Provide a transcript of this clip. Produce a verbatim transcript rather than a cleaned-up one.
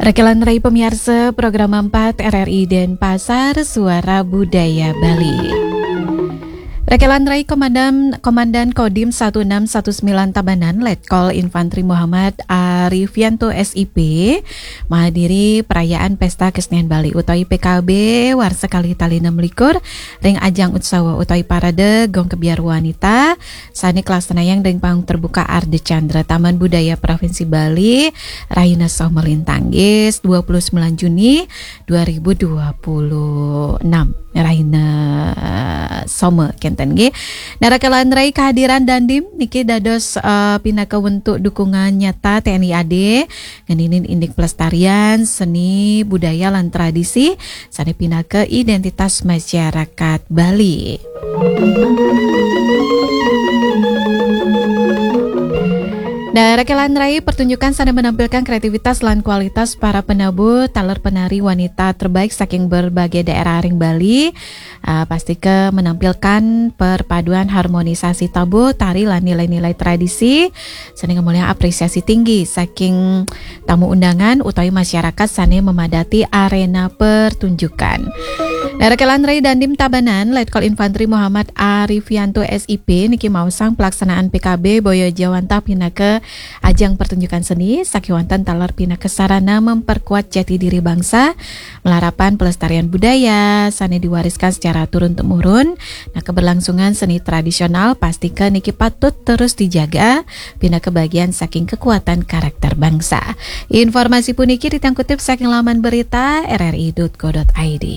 Rakelan rai pamiarsa, program empat R R I Denpasar, Suara Budaya Bali. Rakelan rai, Komandan, Komandan Kodim satu enam satu sembilan Tabanan, Letkol Infantri Muhammad Arifianto, S I P, mahadiri perayaan Pesta Kesenian Bali utawi P K B warsa kalih tali enam likur ring ajang utsawa utawi parade Gong Kebyar Wanita sane kalaksanayang ring panggung terbuka Ardha Candra, Taman Budaya Provinsi Bali, rahina Soma lintang, nggih, dua puluh sembilan Juni dua ribu dua puluh enam, rahina Soma kenten, nggih. Nah, rakelan rai, kehadiran dandim niki dados, eh, pinaka wentuk dukungan nyata T N I A D ngeninin indik pelestarian seni, budaya, lan tradisi sane pinaka identitas masyarakat Bali. Nah, rakelan rai, pertunjukan sane menampilkan kreativitas lan kualitas para penabuh taler penari wanita terbaik saking berbagai daerah ring Bali, ah, pastika menampilkan perpaduan harmonisasi tabuh, tari, lan nilai-nilai tradisi sane ngamolihang apresiasi tinggi saking tamu undangan utawi masyarakat sane memadati arena pertunjukan. Nah, rakelan rai, dandim Tabanan, Letkol Infantri Muhammad Arifianto, S I P, niki maosang pelaksanaan P K B boya ja wantah pinaka ajang pertunjukan seni, sakewanten taler pinaka sarana memperkuat jati diri bangsa, malarapan pelestarian budaya sane diwariskan secara turun-temurun. Nah, keberlangsungan seni tradisional pastika niki patut terus dijaga, pinaka bagian saking kekuatan karakter bangsa. Informasi puniki titiang kutip saking laman berita R R I dot co dot I D.